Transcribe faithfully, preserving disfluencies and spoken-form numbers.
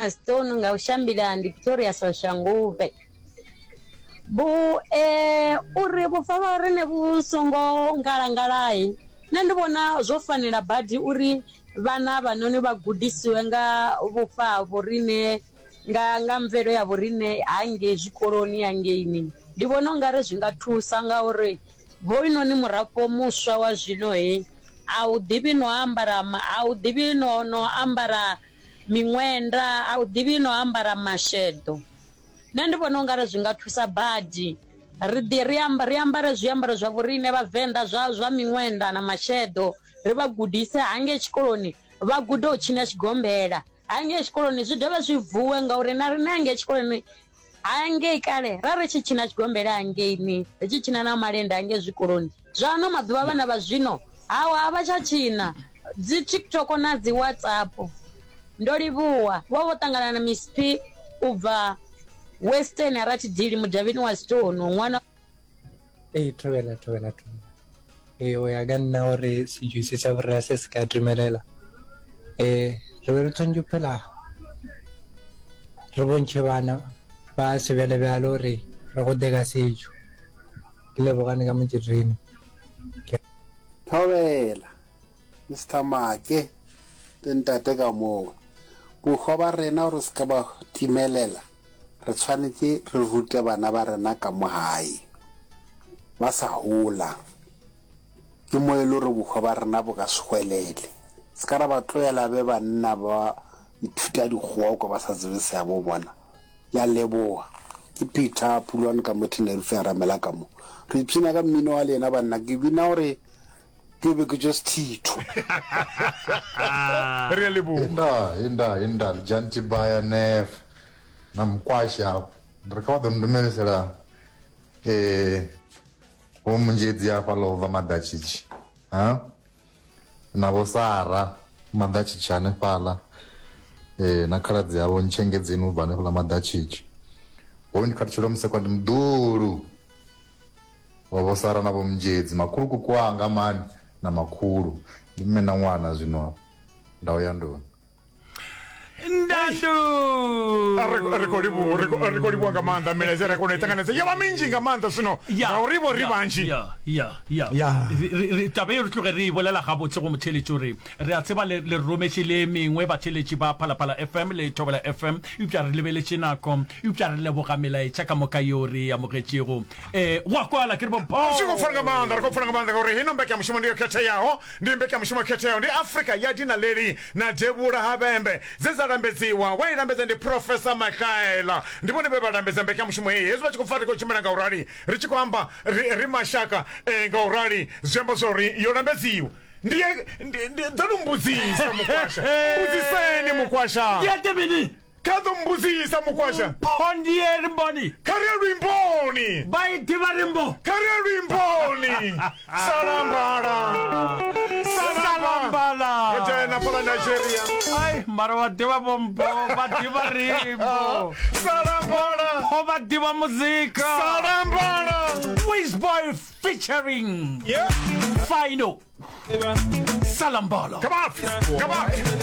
Stone nga u shambila ndi Pretoria Soshanguve. Vhu eh uri vhufa vha riṋe vhu songo ngalangalai nṋe ndi vhona zwo fanela badi uri vhana havhanoni vha gudisiwe nga vhufa ha vhoriṋe nga nga mvelo ya vhoriṋe hangei zwikoloni hangeini. Ndi vhona ungari zwi nga thusa ngauri hoyunoni murafho muswa wa zwino he a u ḓivhi no ambara a u ḓivhi no no ambara miṅwenda a u ḓivhi no ambara masheḓo. Nṋe ndi vhona ungari zwi nga thusa badi ri ḓi ri amba ri ambare zwiambaro zwa vhoriṋe vhavenḓa zwa zwa miṅwenda na masheḓo ri vha gudise hangei tshikoloni vha gude u tshina tshigombela hangei tshikoloni zwi dovhe zwi vuwe ngauri na riṋe hangei tshikoloni hangei kale ra ri tshi tshina tshigombela hangeini ri tshi tshina na malende hangei zwikoloni zwa ano maḓuvha vhana vha zwino hawa a vha tsha tshina dzi TikTok na dzi WhatsApp. Ndo livhuwa vho vho ṱangana na Miss P u bva Western Ratidili mudavhini wa Stone ṅwana Ee, thobela, thobela, thobela. Ee, o ya ka nna gore setšo se sa borra se se ka dumelela. Ee, re be re tshwanetse go phela re bontšhe bana ba sebjalebjale gore re gode ka setšo. Ke lebogane ka motšetrene. Ke. Thobela, Mister Make le ntate ka moo. Bohwa ba rena gore se ka ba timelela, re tshwanetše re rute bana ba rena ka mo gae ba sa gola. Ke mo e le gore bohwa ba rena bo ka se hwelele. Se ka ra ba tlohela be banna ba ithuta dikgowa o kwa ba sa tsebe seabo bona. Ke a leboga. Ke Peter Pulwane ka mo Tenerife a ramela ka mo. Re ipshina ka mmino wa lena banna. Ke bina gore ke be ke tšwe sethitho. Re a leboga. Inda, inda, inda, Lijanti Baya Nef na Mukwasha hafho. Ndi ri kha vha ḓo ndumelisela eh vho Munzhedzi hafhaḽa u bva Maḓatshitshi. Ha? Na vho Sara Maḓatshitshi hanefhaḽa. Eh na khaladzi yavho Ntshengedzeni u bva hanefhaḽa Maḓatshitshi. Hoyu ndi Khathutshelo Musekwa ndi muḓulu. Vha vho Sara na Vho Munzhedzi, makhulukuku wanga mani na makhulu. Ndi mme na ṅwana zwino afha. Ndau ya nduni. Ndandu. Ri ri khou livhuwa ri khou ri khou livhuwa nga maanḓa milaedza ri a kona u i ṱanganedza yo vha minzhi nga maanḓa zwino Ya, ngauri vho ri ya, vhanzhi ya, ya, ya. Ya. Re, re, re, taba ye re tloge re e bolela gabotse go motheeletši gore re a tseba le, le re rometše le e mengwe batheeletši ba Phalaphala F M le Thobela F M, eupša re lebeletše nako, eupša re leboga melaetša ka moka yeo re e amogetšego. Ee, go a kwala, ke re bo Zwi khou pfala nga maanḓa, ri khou pfala nga maanḓa ngauri heino mbekanyamushumo ndi yo khetheaho, ndi mbekanyamushumo yo khetheaho, ndi Afrika ya Dinaleli na Devhula ha Vhembe dze dza lambedziwa. Wa i lambedza ndi Professor Mahlaela, ndi vhone vhe vha lambedza mbekanyamushumo heyi. Hezwi vha tshi khou pfa ri khou tshimbila nga u rali, ri tshi khou amba ri, ri mashaka eh, nga u rali, zwi amba zwa uri yo lambedziwa. Ndi, ndi, ndi ḓo no mbudzisa mukwasha, mbudziseni mukwasha. Ndi ete mini? Kha ḓo mbudzisa mukwasha. Mpho ndiye rimboni. Kha ri ye luimboni. Vha i ḓivha rimbo. Kha ri ye luimboni. Salambala. Salambala. Ro dzhena fhaḽa Nigeria. Ai, mara wa ḓivha vho Mpho vha ḓivha rimbo. Salambala. Mpho vha ḓivha muzika. Salambala. Wizboy featuring Yeah. Fino. Salambala. Come on. Come on.